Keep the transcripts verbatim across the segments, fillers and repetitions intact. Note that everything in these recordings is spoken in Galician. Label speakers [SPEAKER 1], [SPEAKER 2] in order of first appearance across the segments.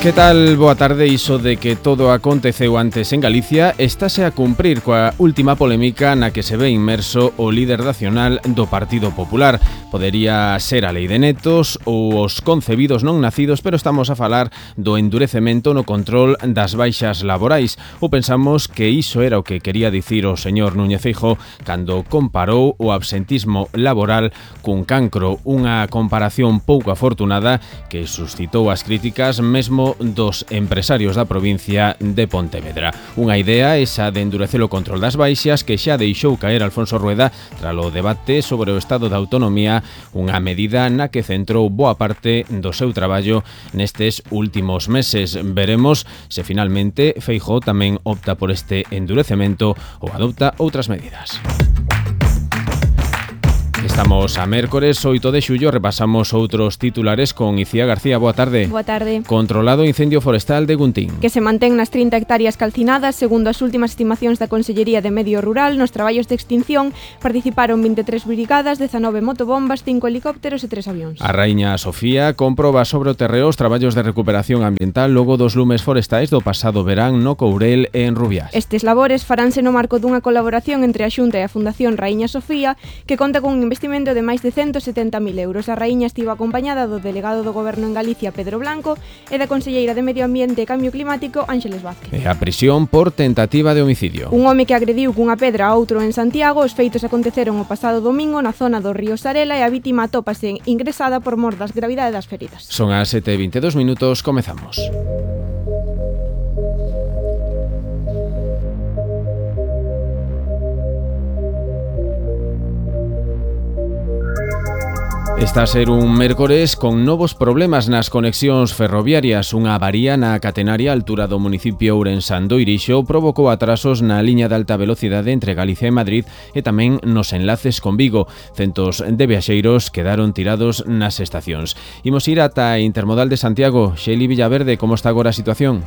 [SPEAKER 1] Que tal? Boa tarde. Iso de que todo aconteceu antes en Galicia estáse a cumprir coa última polémica na que se ve inmerso o líder nacional do Partido Popular. Podería ser a lei de netos ou os concebidos non nacidos, pero estamos a falar do endurecemento no control das baixas laborais. Ou pensamos que iso era o que quería dicir o señor Núñez Feijóo cando comparou o absentismo laboral cun cancro, unha comparación pouco afortunada que suscitou as críticas mesmo dos empresarios da provincia de Pontevedra. Unha idea esa de endurecer o control das baixas que xa deixou caer Alfonso Rueda tralo debate sobre o estado da autonomía, unha medida na que centrou boa parte do seu traballo nestes últimos meses. Veremos se finalmente Feijóo tamén opta por este endurecemento ou adopta outras medidas. Estamos a mércores oito de xullo, repasamos outros titulares con Icía García. Boa tarde.
[SPEAKER 2] Boa tarde.
[SPEAKER 1] Controlado incendio forestal de Guntín.
[SPEAKER 2] Que se mantén nas trinta hectáreas calcinadas. Segundo as últimas estimacións da Consellería de Medio Rural, nos traballos de extinción participaron vinte e tres brigadas, dezanove motobombas, cinco helicópteros e tres avións.
[SPEAKER 1] A raíña Sofía comproba sobre o terreo os traballos de recuperación ambiental logo dos lumes forestais do pasado verán no Courel e en Rubiás.
[SPEAKER 2] Estes labores faránse no marco dunha colaboración entre a Xunta e a Fundación Raíña Sofía, que conta con un investimento de máis de ciento setenta mil euros. A raíña estivo acompañada do delegado do Goberno en Galicia, Pedro Blanco, e da conselleira de Medio Ambiente e Cambio Climático, Ángeles Vázquez.
[SPEAKER 1] E a prisión por tentativa de homicidio.
[SPEAKER 2] Un home que agrediu cunha pedra a outro en Santiago. Os feitos aconteceron o pasado domingo na zona do río Sarela e a vítima atópase ingresada por mor das gravidade das feridas.
[SPEAKER 1] Son as sete e vinte e dous minutos, comezamos. Está a ser un mércores con novos problemas nas conexións ferroviarias. Unha avaría na catenaria á altura do municipio ourensán do Irixo provocou atrasos na liña de alta velocidade entre Galicia e Madrid e tamén nos enlaces con Vigo. Centos de viaxeiros quedaron tirados nas estacións. Imos ir ata a Intermodal de Santiago. Xeli Villaverde, como está agora a situación?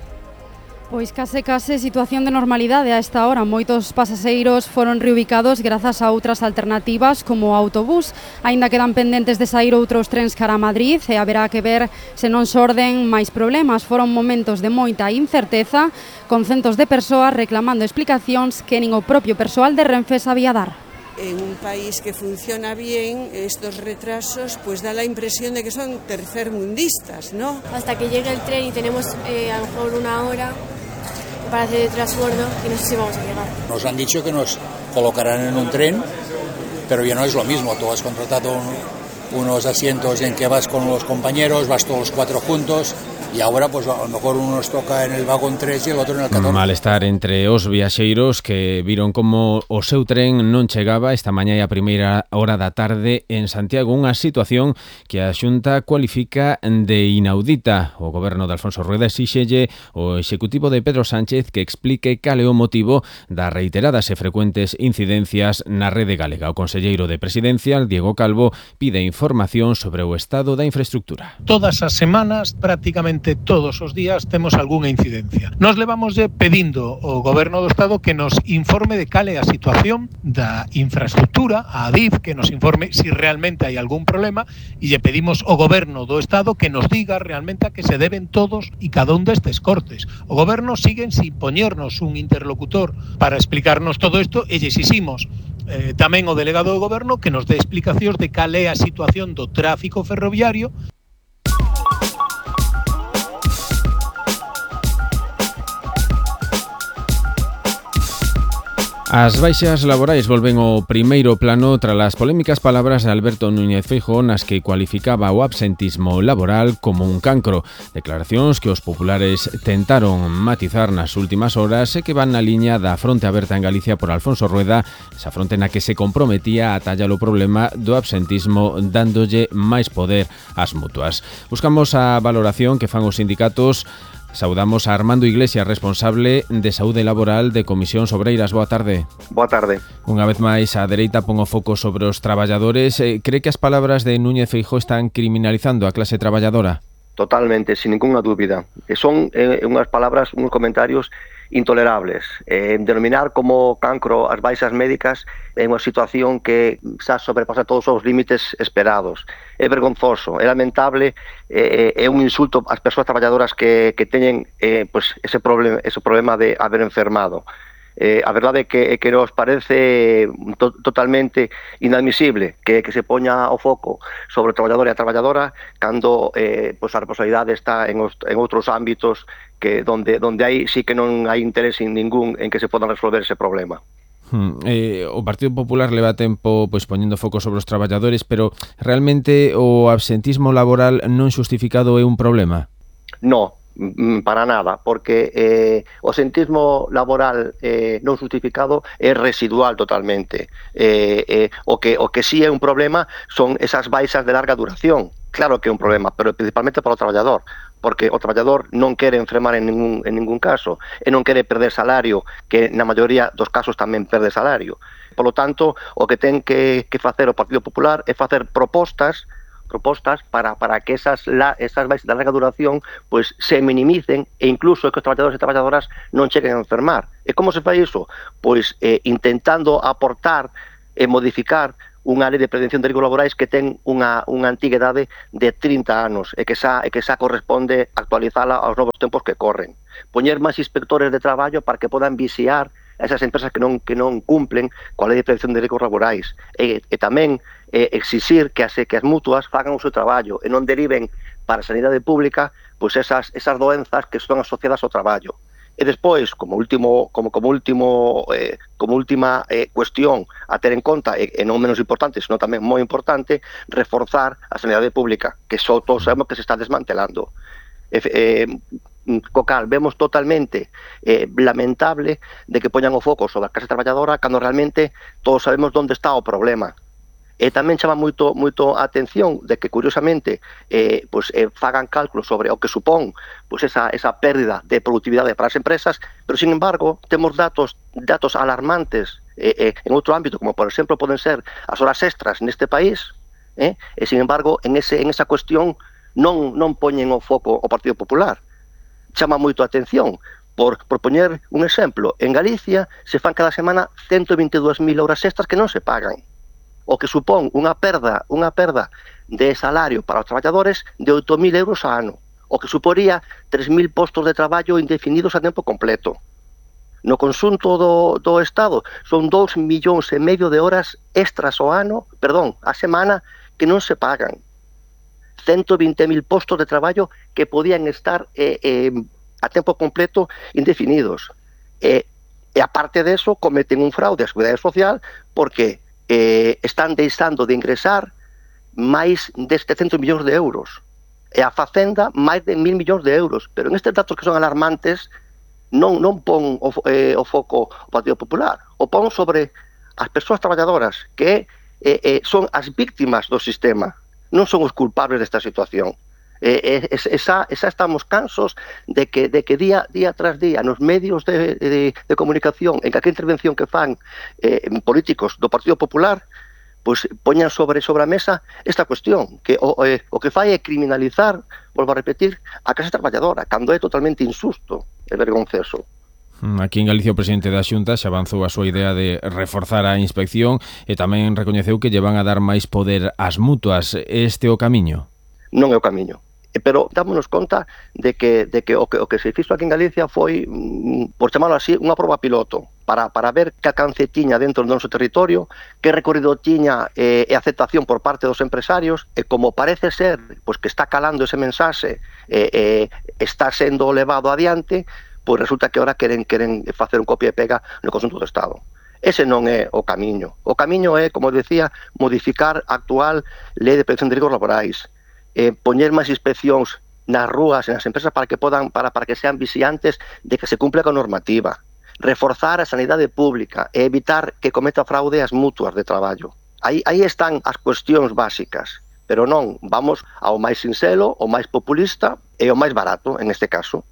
[SPEAKER 3] Pois case case situación de normalidade a esta hora. Moitos pasaxeiros foron reubicados grazas a outras alternativas como o autobús. Aínda quedan pendentes de saír outros trens cara a Madrid e haberá que ver se non xorden máis problemas. Foron momentos de moita incerteza, con centos de persoas reclamando explicacións que nin o propio persoal de Renfe sabía dar.
[SPEAKER 4] En un país que funciona bien, estos retrasos pues da la impresión de que son tercermundistas, ¿no?
[SPEAKER 5] Hasta que llegue el tren y tenemos eh, a lo mejor una hora para hacer el transbordo y no sé si vamos a llegar.
[SPEAKER 6] Nos han dicho que nos colocarán en un tren, pero ya no es lo mismo. Tú has contratado un, unos asientos en que vas con los compañeros, vas todos los cuatro juntos. E agora, pues, a lo mejor uno nos toca en el vagón tres e el outro en el catorce.
[SPEAKER 1] Malestar entre os viaxeiros que viron como o seu tren non chegaba esta mañá e a primeira hora da tarde en Santiago. Unha situación que a Xunta cualifica de inaudita. O goberno de Alfonso Rueda exíxelle o executivo de Pedro Sánchez que explique cal é o motivo das reiteradas e frecuentes incidencias na rede galega. O conselleiro de Presidencia, Diego Calvo, pide información sobre o estado da infraestructura.
[SPEAKER 7] Todas as semanas, prácticamente todos os días temos algunha incidencia. Nos levamos pedindo ao Goberno do Estado que nos informe de cal é a situación da infraestructura, a Adif, que nos informe se si realmente hai algún problema, e lle pedimos ao Goberno do Estado que nos diga realmente a que se deben todos e cada un destes cortes. O Goberno siguen sin poñernos un interlocutor para explicarnos todo isto e lle exiximos eh, tamén o delegado do Goberno que nos dé explicacións de cal é a situación do tráfico ferroviario.
[SPEAKER 1] As baixas laborais volven ao primeiro plano tras as polémicas palabras de Alberto Núñez Feijóo nas que cualificaba o absentismo laboral como un cancro. Declaracións que os populares tentaron matizar nas últimas horas e que van na liña da fronte aberta en Galicia por Alfonso Rueda, esa fronte na que se comprometía a atallar o problema do absentismo dándolle máis poder ás mutuas. Buscamos a valoración que fan os sindicatos. Saudamos a Armando Iglesias, responsable de Saúde Laboral de Comisións Obreiras. Boa tarde.
[SPEAKER 8] Boa tarde.
[SPEAKER 1] Unha vez máis, a dereita pon o foco sobre os traballadores. Cree que as palabras de Núñez Feijóo están criminalizando a clase traballadora?
[SPEAKER 8] Totalmente, sin ninguna dúbida. Son eh, unhas palabras, uns comentarios intolerables. Eh, denominar como cancro as baixas médicas é unha situación que xa sobrepasa todos os límites esperados. É vergonzoso, é lamentable, eh, é un insulto ás persoas traballadoras que, que teñen eh, pues ese, problema, ese problema de haber enfermado. Eh, a verdade é que, é que nos parece to, totalmente inadmisible que, que se poña o foco sobre o traballador e a traballadora cando eh, pues a responsabilidade está en, os, en outros ámbitos que donde, donde aí sí que non hai interés en ningún en que se podan resolver ese problema.
[SPEAKER 1] Hmm. Eh, o Partido Popular leva tempo pois poñendo foco sobre os traballadores, pero realmente o absentismo laboral non xustificado é un problema?
[SPEAKER 8] No, para nada, porque eh, o absentismo laboral eh, non justificado é residual totalmente. Eh, eh, o que o que sí é un problema son esas baixas de larga duración. Claro que é un problema, pero principalmente para o traballador, porque o traballador non quere enfermar en ningún, en ningún caso e non quere perder salario, que na maioría dos casos tamén perde salario. Por lo tanto, o que ten que, que facer o Partido Popular é facer propostas propostas para, para que esas, la, esas baixas de larga duración pues, se minimicen e incluso que os traballadores e traballadoras non cheguen a enfermar. E como se fai iso? Pois eh, intentando aportar e modificar unha lei de prevención de riscos laborais que ten unha, unha antiguidade de trinta anos e que xa, e que xa corresponde actualizala aos novos tempos que corren. Poñer máis inspectores de traballo para que podan vixiar a esas empresas que non, que non cumplen coa lei de prevención de riscos laborais e, e tamén eh, exixir que as, que as mutuas fagan o seu traballo e non deriven para a sanidade pública pois esas, esas doenzas que son asociadas ao traballo. E despois, como último, como, como último, eh, como última eh, cuestión a ter en conta, e, e non menos importante, senón tamén moi importante, reforzar a sanidade pública, que só todos sabemos que se está desmantelando. E, eh, co cal vemos totalmente eh, lamentable de que poñan o foco sobre a clase traballadora cando realmente todos sabemos onde está o problema. E tamén chama moito moito a atención de que, curiosamente, eh, pues, eh, fagan cálculos sobre o que supón pues, esa, esa pérdida de productividade para as empresas, pero, sin embargo, temos datos datos alarmantes eh, eh, en outro ámbito, como, por exemplo, poden ser as horas extras neste país, eh, e, sin embargo, en, ese, en esa cuestión non, non poñen o foco o Partido Popular. Chama moito a atención. Por, por poñer un exemplo, en Galicia se fan cada semana ciento vinte e dúas mil horas extras que non se pagan, o que supón unha perda, unha perda de salario para os traballadores de oito mil euros a ano, o que suporía tres mil postos de traballo indefinidos a tempo completo. No conxunto do, do Estado son dous millóns e medio de horas extras ao ano, perdón, a semana, que non se pagan. ciento vinte mil postos de traballo que podían estar eh, eh, a tempo completo indefinidos. E, e aparte de eso, cometen un fraude á Seguridade Social porque eh, están deixando de ingresar máis de setecientos millóns de euros. E a Facenda máis de mil millóns de euros. Pero en estes datos que son alarmantes non, non pon o, eh, o foco o Partido Popular. O pon sobre as persoas traballadoras que eh, eh, son as víctimas do sistema. Non son os culpables desta situación. Eh, eh, esa, esa estamos cansos de que, de que día, día tras día nos medios de, de, de comunicación, en calquera intervención que fan eh, políticos do Partido Popular, pues poñan sobre sobre a mesa esta cuestión, que o, eh, o que fai é criminalizar, volvo a repetir, a clase traballadora, cando é totalmente injusto e vergonzoso.
[SPEAKER 1] Aquí en Galicia o presidente da Xunta xa avanzou a súa idea de reforzar a inspección e tamén recoñeceu que lle van a dar máis poder ás mutuas. Este é o camiño?
[SPEAKER 8] Non é o camiño. Pero dámonos conta de que, de que, o, que o que se fixo aquí en Galicia foi, por chamarlo así, unha proba piloto para, para ver que alcance tiña dentro do noso territorio, que recorrido tiña eh, e aceptación por parte dos empresarios, e como parece ser pues, que está calando ese mensaxe, eh, eh, está sendo levado adiante, pois resulta que ahora queren, queren facer un copia e pega no conxunto do Estado. Ese non é o camiño. O camiño é, como decía, modificar a actual lei de prevención de riscos laborais, eh, poñer máis inspeccións nas rúas e nas empresas para que podan para, para que sean vixiantes de que se cumpla con normativa, reforzar a sanidade pública e evitar que cometa fraude as mutuas de traballo. Aí, aí están as cuestións básicas, pero non vamos ao máis sinxelo, ao máis populista e ao máis barato, en este caso.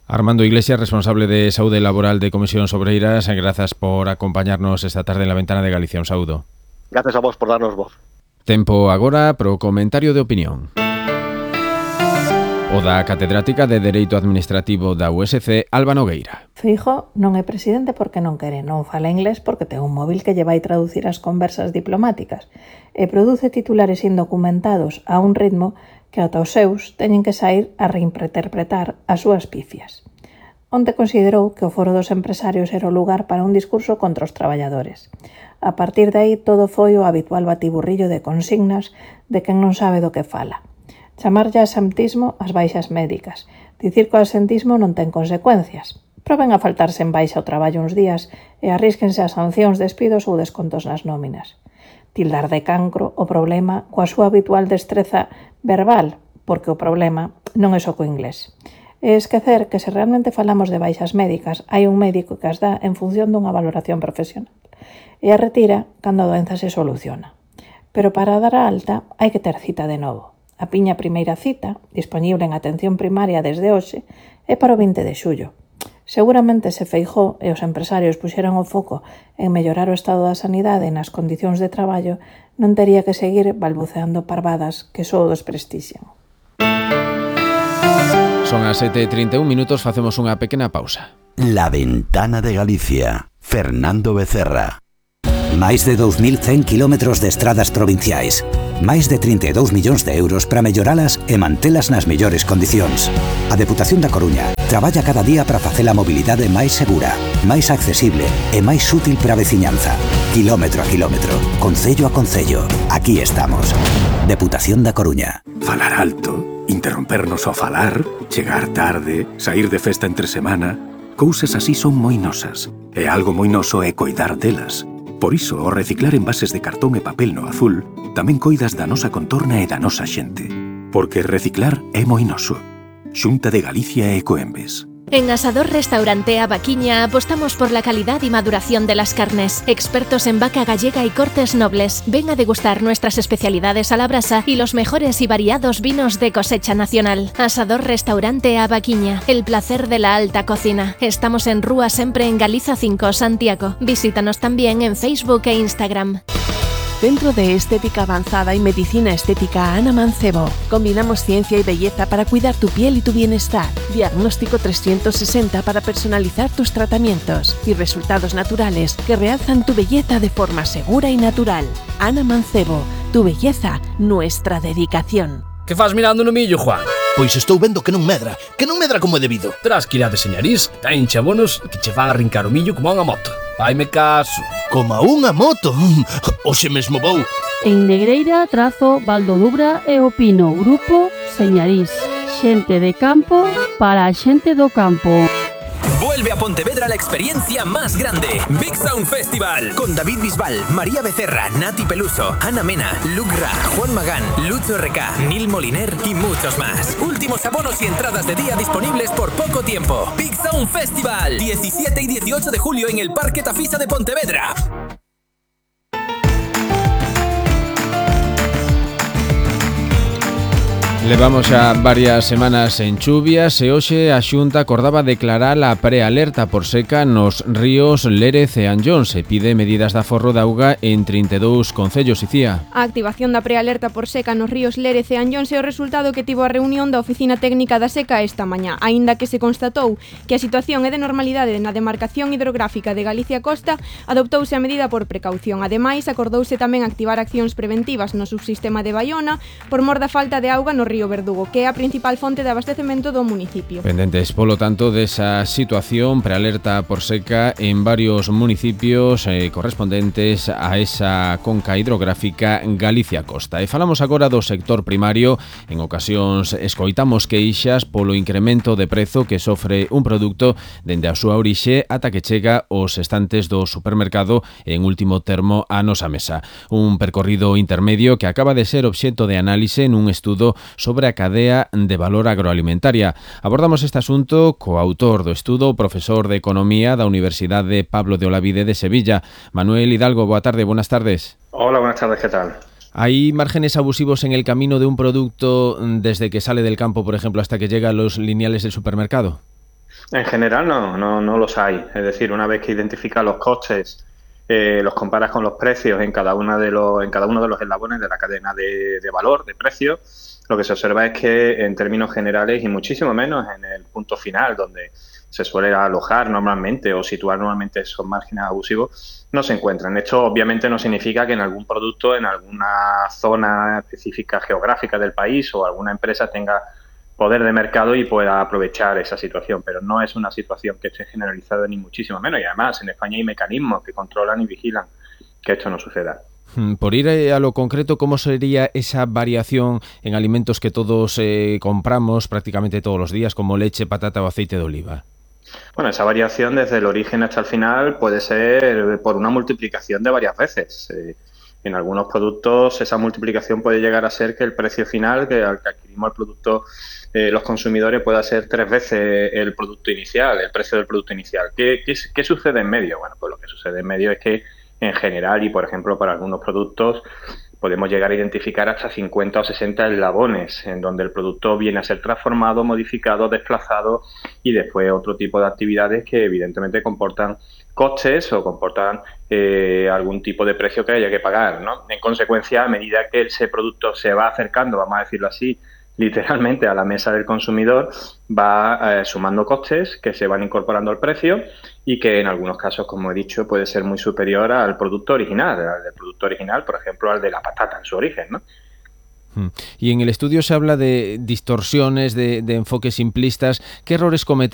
[SPEAKER 1] Armando Iglesias, responsable de Saúde Laboral de Comisións Obreiras, grazas por acompañarnos esta tarde en la Ventana de Galicia. Un saúdo.
[SPEAKER 8] Grazas a vos por darnos voz.
[SPEAKER 1] Tempo agora pro comentario de opinión. O da catedrática de Dereito Administrativo da U S C, Alba Nogueira.
[SPEAKER 9] Feijóo non é presidente porque non quere, non fala inglés porque ten un móvil que lle vai traducir as conversas diplomáticas e produce titulares indocumentados a un ritmo que ata os seus teñen que sair a reinterpretar as súas pifias. Onte considerou que o foro dos empresarios era o lugar para un discurso contra os traballadores. A partir de aí todo foi o habitual batiburrillo de consignas de quen non sabe do que fala. Chamarlle a absentismo as baixas médicas, dicir que o absentismo non ten consecuencias. Proben a faltarse en baixa o traballo uns días e arrísquense a sancións, despidos ou descontos nas nóminas. Tildar de cancro o problema coa súa habitual destreza verbal, porque o problema non é só co inglés. E esquecer que se realmente falamos de baixas médicas, hai un médico que as dá en función dunha valoración profesional e a retira cando a doenza se soluciona. Pero para dar a alta hai que ter cita de novo. A piña primeira cita, disponible en atención primaria desde hoxe, é para o vinte de xullo. Seguramente se Feijóo e os empresarios puxeran o foco en mellorar o estado da sanidade e nas condicións de traballo, non tería que seguir balbuceando parvadas que só o desprestixian.
[SPEAKER 1] Son as sete e trinta e un minutos, facemos unha pequena pausa.
[SPEAKER 10] La Ventana de Galicia, Fernando Becerra. Máis de dous mil cen kilómetros de estradas provinciais. Máis de trinta e dous millóns de euros para melloralas e mantelas nas mellores condicións. A Deputación da Coruña traballa cada día para facer a mobilidade máis segura, máis accesible e máis útil para a veciñanza. Kilómetro a kilómetro, concello a concello. Aquí estamos. Deputación da Coruña.
[SPEAKER 11] Falar alto, interrompernos ao falar, chegar tarde, sair de festa entre semana... Cousas así son moi nosas. E algo moi noso é coidar delas. Por iso, ao reciclar envases de cartón e papel no azul, tamén coidas da nosa contorna e da nosa xente. Porque reciclar é moi noso. Xunta de Galicia e Ecoembes.
[SPEAKER 12] En Asador Restaurante A Vaquiña apostamos por la calidad y maduración de las carnes. Expertos en vaca gallega y cortes nobles. Ven a degustar nuestras especialidades a la brasa y los mejores y variados vinos de cosecha nacional. Asador Restaurante A Vaquiña, el placer de la alta cocina. Estamos en Rúa Sempre en Galiza cinco, Santiago. Visítanos también en Facebook e Instagram.
[SPEAKER 13] Centro de Estética Avanzada y Medicina Estética Ana Mancebo. Combinamos ciencia y belleza para cuidar tu piel y tu bienestar. Diagnóstico trescientos sesenta para personalizar tus tratamientos y resultados naturales que realzan tu belleza de forma segura y natural. Ana Mancebo, tu belleza, nuestra dedicación.
[SPEAKER 14] Que faz mirando no millo, Juan?
[SPEAKER 15] Pois estou vendo que non medra, que non medra como é debido.
[SPEAKER 14] Terás que ir a deseñarís, ten chabonos que che van a arrincar o millo como a unha moto. Vaime caso.
[SPEAKER 15] Como a unha moto? Oxe mesmo vou.
[SPEAKER 16] En Negreira, Trazo, Valdodubra e o Pino, Grupo Señarís. Xente de campo para a xente do campo.
[SPEAKER 17] Vuelve a Pontevedra la experiencia más grande. Big Sound Festival. Con David Bisbal, María Becerra, Nati Peluso, Ana Mena, Luke Ra, Juan Magán, Lucho R K, Nil Moliner y muchos más. Últimos abonos y entradas de día disponibles por poco tiempo. Big Sound Festival. diecisiete y dieciocho de julio en el Parque Tafisa de Pontevedra.
[SPEAKER 1] Levamos xa varias semanas en chuvias e hoxe a Xunta acordaba declarar a prealerta por seca nos ríos Lérez e Anllóns e pide medidas de aforro de auga en trinta e dous concellos, Icía.
[SPEAKER 2] A activación da prealerta por seca nos ríos Lérez e Anllóns é o resultado que tivo a reunión da Oficina Técnica da Seca esta mañá, aínda que se constatou que a situación é de normalidade na demarcación hidrográfica de Galicia Costa, adoptouse a medida por precaución. Ademais, acordouse tamén activar accións preventivas no subsistema de Baiona por mor da falta de auga no río Verdugo, que é a principal fonte de abastecemento do municipio.
[SPEAKER 1] Pendentes, polo tanto, desa situación, prealerta por seca en varios municipios eh, correspondentes a esa conca hidrográfica Galicia Costa. E falamos agora do sector primario. En ocasións escoitamos queixas polo incremento de prezo que sofre un produto dende a súa orixe ata que chega aos estantes do supermercado en último termo a nosa mesa. Un percorrido intermedio que acaba de ser obxecto de análise nun estudo sobre a cadea de valor agroalimentaria. Abordamos este asunto co autor do estudo, o profesor de Economía da Universidade Pablo de Olavide de Sevilla. Manuel Hidalgo, boa tarde, buenas tardes.
[SPEAKER 18] Hola, buenas tardes, ¿qué tal?
[SPEAKER 1] ¿Hay márgenes abusivos en el camino de un producto desde que sale del campo, por ejemplo, hasta que llega a los lineales del supermercado?
[SPEAKER 18] En general no, no, no los hay. Es decir, una vez que identifica los costes eh, los comparas con los precios en cada, una de los, en cada uno de los eslabones de la cadena de, de valor, de precios, lo que se observa es que en términos generales y muchísimo menos en el punto final, donde se suele alojar normalmente o situar normalmente esos márgenes abusivos, no se encuentran. Esto obviamente no significa que en algún producto, en alguna zona específica geográfica del país o alguna empresa tenga poder de mercado y pueda aprovechar esa situación, pero no es una situación que esté generalizada ni muchísimo menos, y además en España hay mecanismos que controlan y vigilan que esto no suceda.
[SPEAKER 1] Por ir a lo concreto, ¿cómo sería esa variación en alimentos que todos eh, compramos prácticamente todos los días, como leche, patata o aceite de oliva?
[SPEAKER 18] Bueno, esa variación desde el origen hasta el final puede ser por una multiplicación de varias veces. Eh, en algunos productos esa multiplicación puede llegar a ser que el precio final, que al que adquirimos el producto eh, los consumidores, pueda ser tres veces el producto inicial, el precio del producto inicial. ¿Qué, qué, qué sucede en medio? Bueno, pues lo que sucede en medio es que en general y, por ejemplo, para algunos productos podemos llegar a identificar hasta cincuenta o sesenta eslabones en donde el producto viene a ser transformado, modificado, desplazado y después otro tipo de actividades que evidentemente comportan costes o comportan eh, algún tipo de precio que haya que pagar, ¿no? En consecuencia, a medida que ese producto se va acercando, vamos a decirlo así, literalmente a la mesa del consumidor, va eh, sumando costes que se van incorporando al precio y que en algunos casos, como he dicho, puede ser muy superior al producto original, al del producto original, por ejemplo, al de la patata en su origen, ¿no?
[SPEAKER 1] Y en el estudio se habla de distorsiones, de, de enfoques simplistas. ¿Qué errores cometen